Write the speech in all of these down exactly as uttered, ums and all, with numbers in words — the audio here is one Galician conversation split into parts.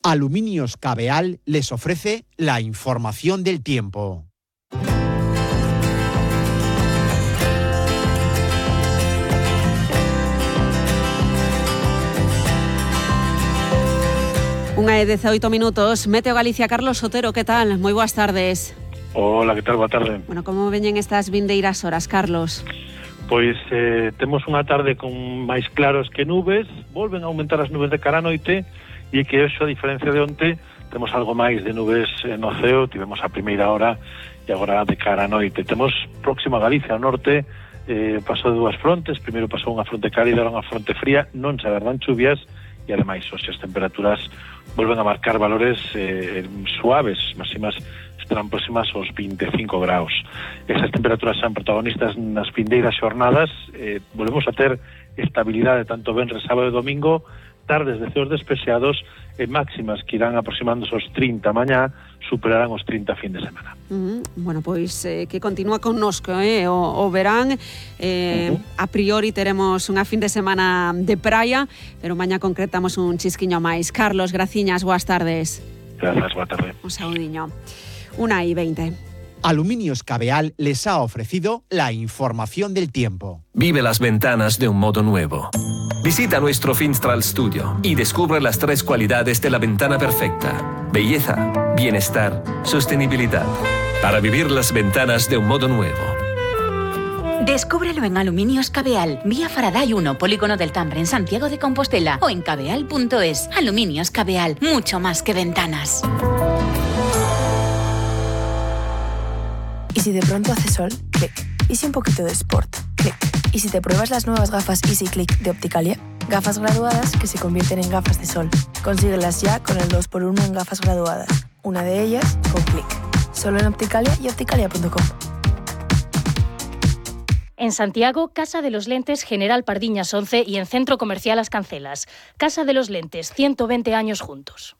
Aluminios Cabeal les ofrece la información del tiempo. Unha e dezaoito minutos. Meteo Galicia, Carlos Sotero, que tal? Moi boas tardes. Hola, que tal? Boa tarde. Bueno, como veñen estas vindeiras horas, Carlos? Pois eh, temos unha tarde con máis claros que nubes, volven a aumentar as nubes de cara a noite, e que hoxe, a diferencia de onte, temos algo máis de nubes no ceo, tivemos a primeira hora e agora de cara a noite. Temos próximo a Galicia, ao norte, eh, pasou de dúas frontes, primeiro pasou unha fronte cálida, unha fronte fría, non se agardan chuvias, e ademais hoxe as temperaturas volven a marcar valores eh, suaves, máximas estarán próximas aos vinte e cinco graus. Esas temperaturas son protagonistas nas vindeiras xornadas, eh, volvemos a ter estabilidade tanto venres, sábado e domingo, tardes de ceos despexados e máximas que irán aproximándose aos trinta mañá, superarán os trinta fin de semana. Uh-huh. Bueno, pois eh, que continúa connosco eh? o, o verán eh, uh-huh. A priori teremos unha fin de semana de praia, pero mañá concretamos un chisquiño máis. Carlos, graciñas, boas tardes. Grazas, boa tarde. Un saudiño. Una y veinte. Aluminios Cabeal les ha ofrecido la información del tiempo. Vive las ventanas de un modo nuevo. Visita nuestro Finstral Studio y descubre las tres cualidades de la ventana perfecta: belleza, bienestar, sostenibilidad. Para vivir las ventanas de un modo nuevo. Descúbrelo en Aluminios Cabeal, vía Faraday uno, Polígono del Tambre, en Santiago de Compostela, o en cabeal punto es. Aluminios Cabeal, mucho más que ventanas. ¿Y si de pronto hace sol? Clic. ¿Y si un poquito de sport? Clic. ¿Y si te pruebas las nuevas gafas Easy Click de Opticalia? Gafas graduadas que se convierten en gafas de sol. Consíguelas ya con el dos por uno en gafas graduadas. Una de ellas con Clic. Solo en Opticalia y opticalia punto com. En Santiago, Casa de los Lentes General Pardiñas once y en Centro Comercial Las Cancelas. Casa de los Lentes, ciento veinte años juntos.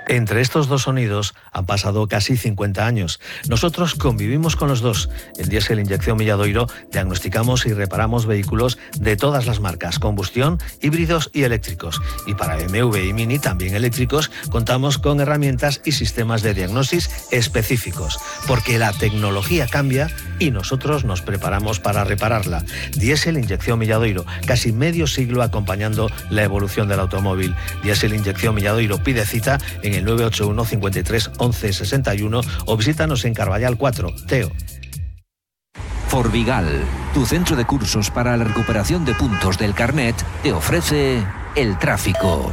Entre estos dos sonidos han pasado casi cincuenta años. Nosotros convivimos con los dos. En Diesel Inyección Milladoiro diagnosticamos y reparamos vehículos de todas las marcas, combustión, híbridos y eléctricos. Y para B M W y Mini, también eléctricos, contamos con herramientas y sistemas de diagnosis específicos. Porque la tecnología cambia y nosotros nos preparamos para repararla. Diesel Inyección Milladoiro, casi medio siglo acompañando la evolución del automóvil. Diesel Inyección Milladoiro, pide cita en el nueve ocho uno, cincuenta y tres, once, sesenta y uno o visítanos en Carballal cuatro, Teo. Forvigal, tu centro de cursos para la recuperación de puntos del carnet, te ofrece el tráfico.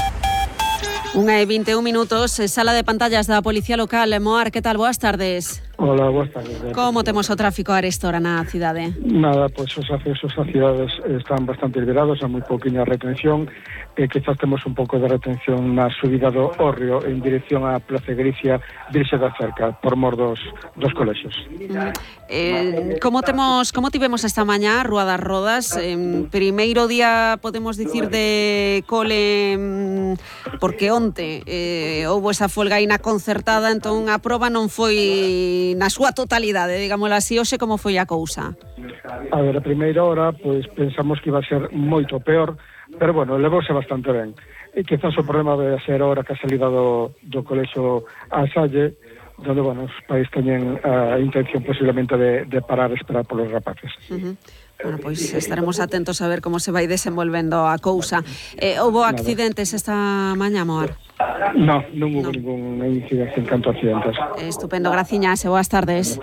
Unha e vinte e un minutos, sala de pantallas da Policía Local. Moar, que tal? Boas tardes. Hola, boas tardes. Como temos o tráfico a esta hora na cidade? Nada, pois os accesos ás cidades están bastante liberados, hai moi pouquiña retención, e quizás temos un pouco de retención na subida do Hórreo en dirección á Plaza Galicia, Virxe da Cerca, por mor dos, dos colexios. Mm. Eh, como temos, como tivemos esta mañá, Rúa das Rodas? Eh, primeiro día, podemos dicir, de cole, mm, porque onte eh, houbo esa folga aí na concertada, entón a proba non foi na súa totalidade, digámoslo así. Hoxe como foi a cousa? A ver, a primeira hora, pois pensamos que iba a ser moito peor, pero bueno, levouse bastante ben. E quizás o problema vai ser a hora que a salida do, do colexo a Salle, donde, bueno, os pais teñen a intención posiblemente de, de parar a esperar polos rapaces. Uh-huh. Bueno, pois estaremos atentos a ver como se vai desenvolvendo a cousa. Eh, houbo accidentes esta mañá, Moar? No, non hubo no. ningún incidencia en canto a accidentes. Estupendo, graciñas e boas tardes.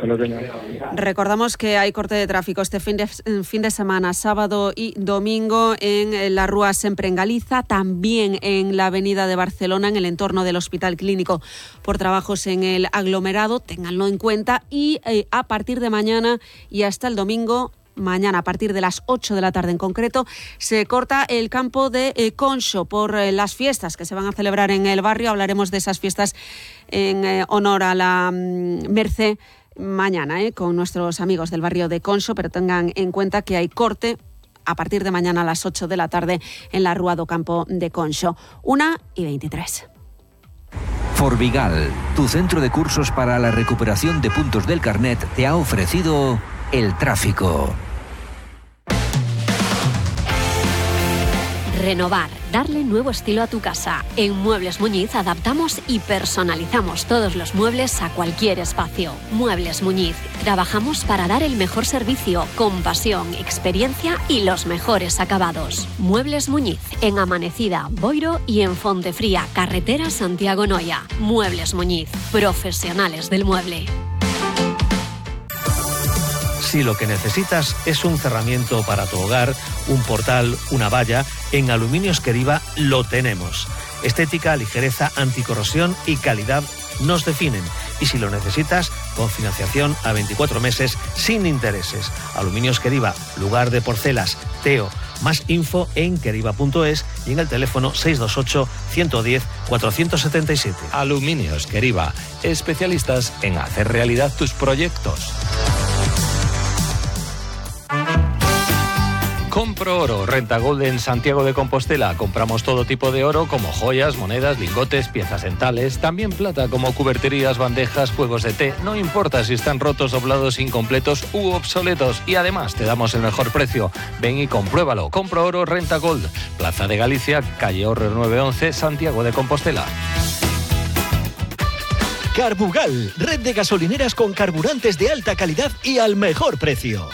Recordamos que hai corte de tráfico este fin de, fin de semana, sábado y domingo, en la Rúa Sempre en Galiza, también en la avenida de Barcelona, en el entorno del Hospital Clínico, por trabajos en el aglomerado, ténganlo en cuenta, y eh, a partir de mañana y hasta el domingo, mañana a partir de las ocho de la tarde en concreto, se corta el campo de eh, Conxo por eh, las fiestas que se van a celebrar en el barrio. Hablaremos de esas fiestas en eh, honor a la mm, Mercé mañana eh, con nuestros amigos del barrio de Conxo, pero tengan en cuenta que hay corte a partir de mañana a las ocho de la tarde en la Rúa do Campo de Conxo. Una y veintitrés. Forvigal, tu centro de cursos para la recuperación de puntos del carnet, te ha ofrecido el tráfico. Renovar, darle nuevo estilo a tu casa. En Muebles Muñiz adaptamos y personalizamos todos los muebles a cualquier espacio. Muebles Muñiz. Trabajamos para dar el mejor servicio, con pasión, experiencia y los mejores acabados. Muebles Muñiz, en Amanecida, Boiro y en Fontefría, carretera Santiago-Noya. Muebles Muñiz, profesionales del mueble. Si lo que necesitas es un cerramiento para tu hogar, un portal, una valla, en Aluminios Queriva lo tenemos. Estética, ligereza, anticorrosión y calidad nos definen. Y si lo necesitas, con financiación a veinticuatro meses sin intereses. Aluminios Queriva, lugar de porcelas, Teo. Más info en queriva punto es y en el teléfono seis dos ocho, uno uno cero, cuatro siete siete. Aluminios Queriva, especialistas en hacer realidad tus proyectos. Compro Oro, Renta Gold en Santiago de Compostela. Compramos todo tipo de oro como joyas, monedas, lingotes, piezas dentales, también plata como cuberterías, bandejas, juegos de té. No importa si están rotos, doblados, incompletos u obsoletos. Y además te damos el mejor precio. Ven y compruébalo. Compro Oro, Renta Gold. Plaza de Galicia, calle Horrer nueve once, Santiago de Compostela. Carbugal, red de gasolineras con carburantes de alta calidad y al mejor precio.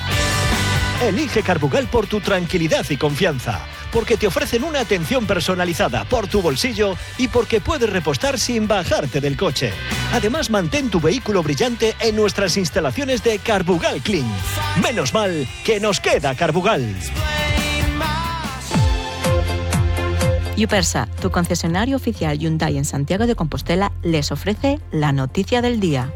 Elige Carbugal por tu tranquilidad y confianza, porque te ofrecen una atención personalizada por tu bolsillo y porque puedes repostar sin bajarte del coche. Además, mantén tu vehículo brillante en nuestras instalaciones de Carbugal Clean. Menos mal que nos queda Carbugal. Yupersa, tu concesionario oficial Hyundai en Santiago de Compostela, les ofrece la noticia del día.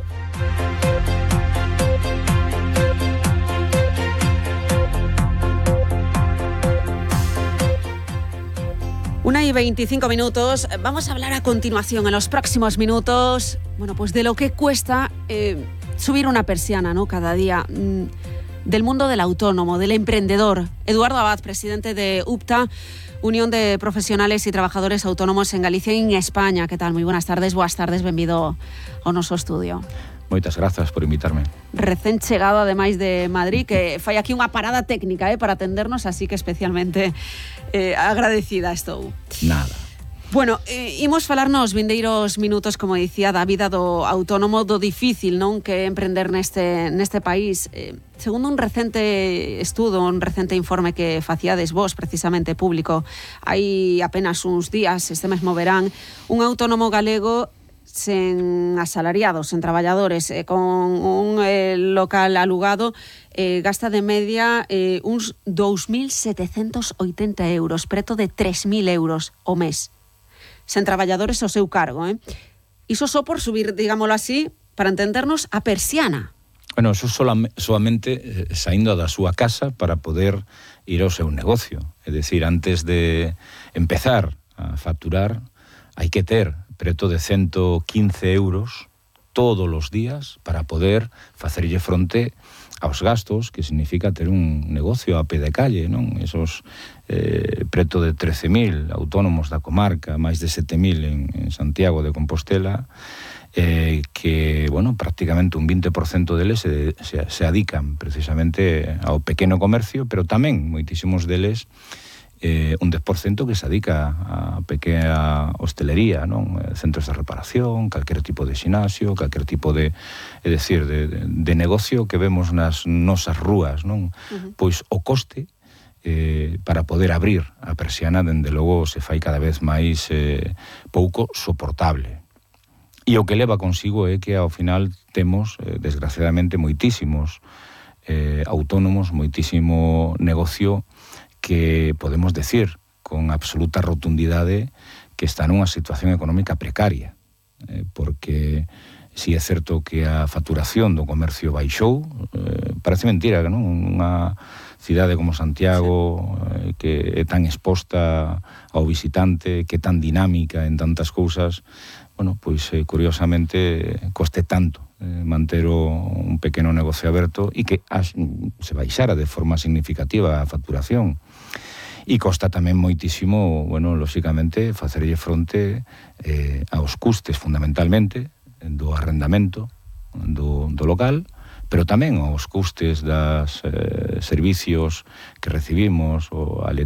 Una y veinticinco minutos. Vamos a hablar a continuación, en los próximos minutos, bueno, pues de lo que cuesta eh, subir una persiana, ¿no? Cada día. Mm, del mundo del autónomo, del emprendedor. Eduardo Abad, presidente de U P T A, Unión de Profesionales y Trabajadores Autónomos en Galicia y en España. Que tal? Moi buenas tardes, boas tardes, benvido ao noso estudio. Moitas grazas por invitarme. Recén chegado, ademais de Madrid, que fai aquí unha parada técnica eh, para atendernos, así que especialmente eh, agradecida estou. Nada. Bueno, eh, imos falar nos vindeiros minutos, como dicía, da vida do autónomo, do difícil, non, que é emprender neste, neste país. Eh, segundo un recente estudo, un recente informe que faciades vos, precisamente público, hai apenas uns días, este mesmo verán, un autónomo galego sen asalariados, sen traballadores, eh, con un eh, local alugado, eh, gasta de media eh, uns dous mil setecentos oitenta euros, preto de tres mil euros o mes. Sen traballadores ao seu cargo, eh? Iso só por subir, digámoslo así, para entendernos, a persiana. Bueno, eso solam- solamente eh, saindo da súa casa para poder ir ao seu negocio. É dicir, antes de empezar a facturar, hai que ter preto de ciento quince euros todos os días para poder facerlle fronte aos gastos, que significa ter un negocio a pé de calle, non? Esos eh, preto de trece mil autónomos da comarca, máis de sete mil en, en Santiago de Compostela, eh, que, bueno, prácticamente un vinte por cento deles se, se, se adican precisamente ao pequeno comercio, pero tamén moitísimos deles Eh, un dez por cento que se adica a pequena hostelería, non? Centros de reparación, calquer tipo de xinasio, calquer tipo de, é dicir, de, de, de negocio que vemos nas nosas rúas, non? Uh-huh. Pois o coste eh, para poder abrir a persiana, dende logo, se fai cada vez máis eh, pouco soportable. E o que leva consigo é que ao final temos, eh, desgraciadamente, moitísimos eh, autónomos, moitísimo negocio que podemos decir con absoluta rotundidade que está nunha situación económica precaria, eh, porque si é certo que a facturación do comercio baixou, eh, parece mentira, non? Unha cidade como Santiago, eh, que é tan exposta ao visitante, que é tan dinámica en tantas cousas, bueno, pois eh, curiosamente coste tanto eh, manter o, un pequeno negocio aberto e que as, se baixara de forma significativa a facturación. E costa tamén moitísimo, bueno, lóxicamente, facerlle fronte eh, aos custes fundamentalmente do arrendamento do, do local, pero tamén aos custes das eh, servicios que recibimos, o a